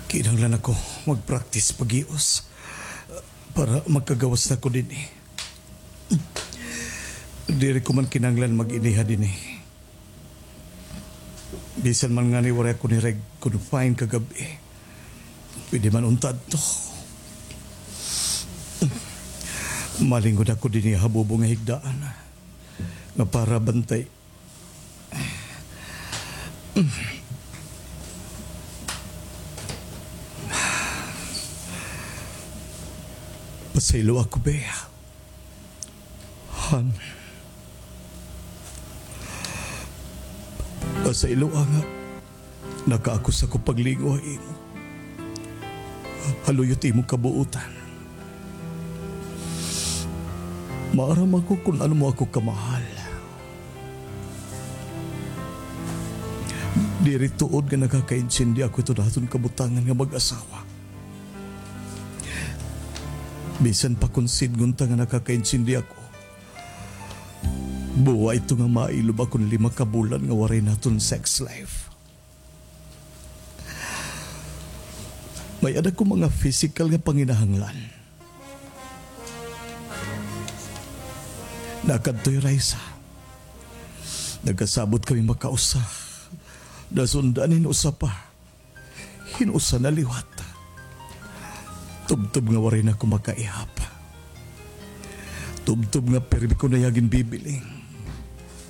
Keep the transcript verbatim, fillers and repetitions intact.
Kinahanglan ako mag-practice paghius para makagawas na ko dinhi. Diri ko man kinahanglan mag-iniha dinhi. Bisan man ngani waray ako nireg-confine kagab-i, pwede man unta adto. Malingod ako dinhi ha bubo nga higdaan nga para bantay. Pasayloa ako, Bea. Han. Pasayloa nga nakaakus ako paglingaw ha imo. Ha luyot imo kabuutan. Maaram ako kon ano mo ako kamahal. Diri tuod nga nakakaintindi ako hiton aton kabutangan nga mag-asawa. Bisan pa kon sidngon ta nga nakakaintindi ako, buwa ito nga mailob akon lima ka bulan nga waray naton sex life. May-ada ko mga physical nga panginahanglan. Nakadtoy Raisa. Nagkasabot kami makausa. Nasundan hin usa pa. Hin usa na liwat. Tubtob nga waray na ako makaihap. Tubtob nga pirmi ko na iya ginbibiling.